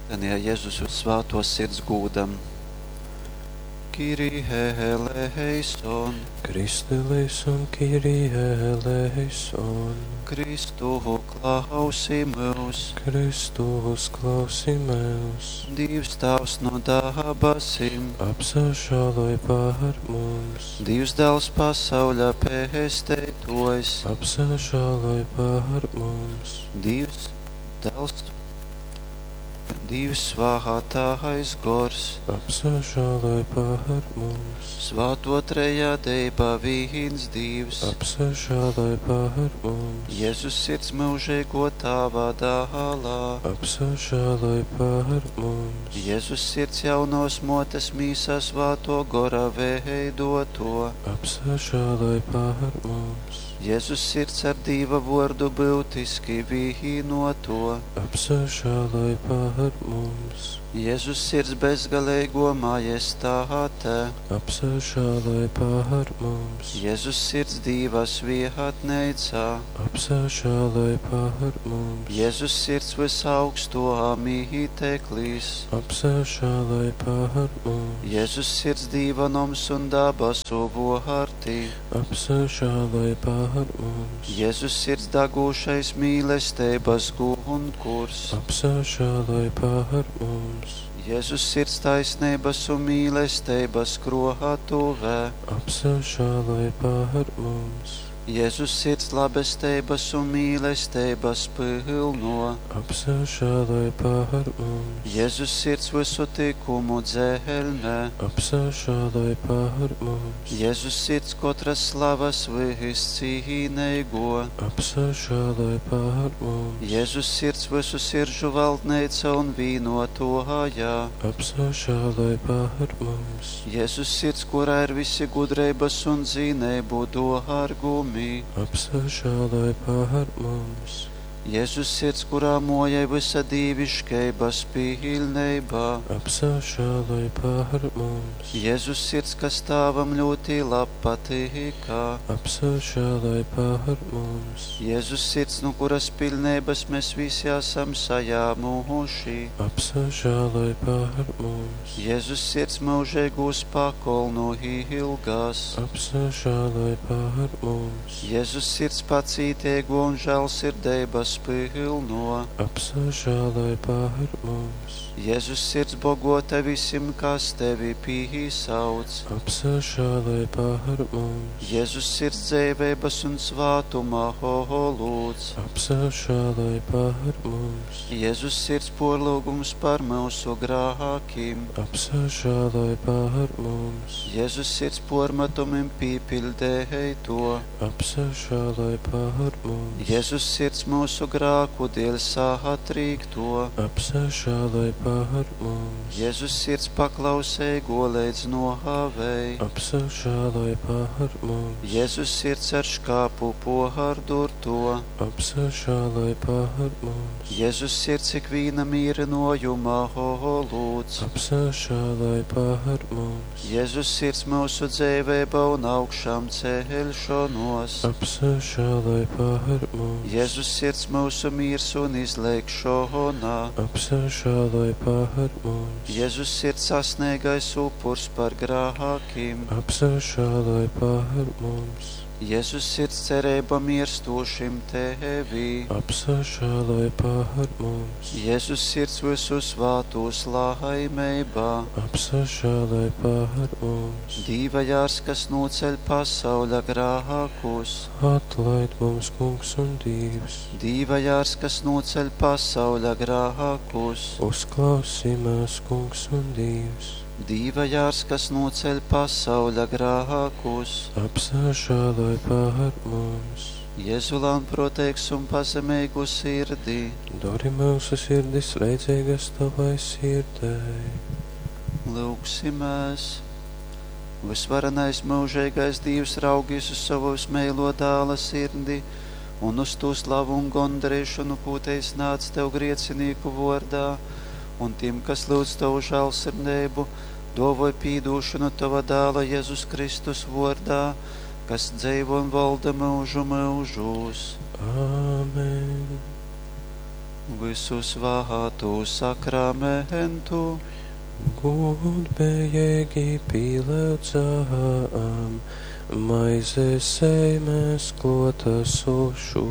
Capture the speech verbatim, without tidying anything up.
Litanija Jezus Svātōs Sirds gūdam. Kyrie eleison, Christe eleison, Kyrie eleison. Kristu klausi myus. Kristu uzklausi mūs. Dīvs Tāvs no dabasim, Apsažāloj par mums. Dīvs Dāls pasauļa pesteitōjs, Apsažāloj par mums. Dīvs Dāls, Dīvs Svātais Gors, Apsažāloj par mums. Svāto Trejadeiba vīns Dīvs, Apsažāloj par mums. Jezus Sirds myužeigō Tāva dālā, Apsažāloj par mums. Jezus Sirds jaunōs mōtes mīsā Svātō Gora veidoto, Apsažāloj par mums. Jezus Sirds ar Dīva vōrdu byutiski vīnoto, Apsažāloj par mums. Jezus Sirds bezgaleigō majestāte, Apsažāloj par mums. Jezus Sirds Dīva svietneicā, Apsažāloj par mums. Jezus Sirds vysaugstō mīteklīs, Apsažāloj par mums. Jezus Sirds Dīva noms un dabasu vōrti, Apsažāloj par mums. Jezus Sirds dagūšais mīlesteibas gunkurs, Apsažāloj par mums. Jezus Sirds taisneibas un mīlesteibas krōtuve, Apsažāloj par mums. Jezus Sirds labesteibas un mīlesteibas pylno, Apsažāloj par mums. Jezus Sirds visu tikumu dzelme, Apsažāloj par mums. Jezus Sirds kotras slavas vyscīneigo, Apsažāloj par mums. Jezus Sirds visu siržu valdneica un vīnotōja, Apsažāloj par mums. Jezus Sirds, kurā ir visi gudreibas un zineibu dōrgumi, Apsažāloj par mums. Jezus Sirds, kurā mojai visa dīviškeibas pilneibā, Apsažāloj par mums. Jezus Sirds, kas Tāvam ļoti lab patīkā, Apsažāloj par mums. Jezus Sirds, no kuras pilneibas mēs visi esam sajāmuši, Apsažāloj par mums. Jezus Sirds mūžīgūs pakolnu ilgās, Apsažāloj par mums. Jezus Sirds pacītīgo un žēlsirdības pilno, Apsažāloj par mums. Jezus Sirds bogota visim, kas tevi pīsauc, Apsažāloj par mums. Jezus Sirds dzēveibas un svātuma holūds, Apsažāloj par mums. Jezus Sirds porlūgums par mūsu grākiem, Apsažāloj par mums. Jezus Sirds pormetumim pīpildēj to, Apsažāloj par mums. Jezus Sirds mūsu grāku dēļ satrīkto, Apsažāloj par mums. Jezus Sirds paklauseigo līdz nohavei, Apsažāloj par mums. Jezus Sirds ar škāpu pohardurto, Apsažāloj par mums. Jezus Sirds ikvīna mīrinojuma holūds, Apsažāloj par mums. Jezus Sirds mūsu dzēvēba un augšām ceļšanos, Apsažāloj par mums. Jezus Sirds mūsu miers un izlēkšona, Apsažāloj par mums. Jezus Sirds sasniegais upurs par grākiem, Apsažāloj par mums. Jezus Sirds cerība mirstošim tevī, Apsažāloj par mums. Jezus Sirds visu svātos laimeibā, Apsažāloj par mums. Dīva jārs, kas noceļ pasauļa grākus, Atlaid mums, Kungs un Dievs. Dīva jārs, kas noceļ pasauļa grākus, Uzklausī mūs, Kungs un Dievs. Dīva jārs, kas noceļ pasauļa grākus, Apsažāloj par mums. Jēzu lānproteigs un pazemīgu sirdī, Dori mūsu sirdis leidzīgas tavai sirdei. lūgsimies. Visvarenais mūžīgais Dievs raugīs uz savu vismīlo dāla sirdi un uz to slavu un gondarīšanu, ko te iznāc tev griecinīku vārdā, un tiem, kas lūdz tavu žēlsirdību, dovoj pīdūšanu tava dāla Jēzus Kristus vārdā, kas dzīvo un valda mūžu mūžos. Āmen. Visu svātu sakramentu, Gūdbejeigi pīlyudzam, maize seimes klōtasušu,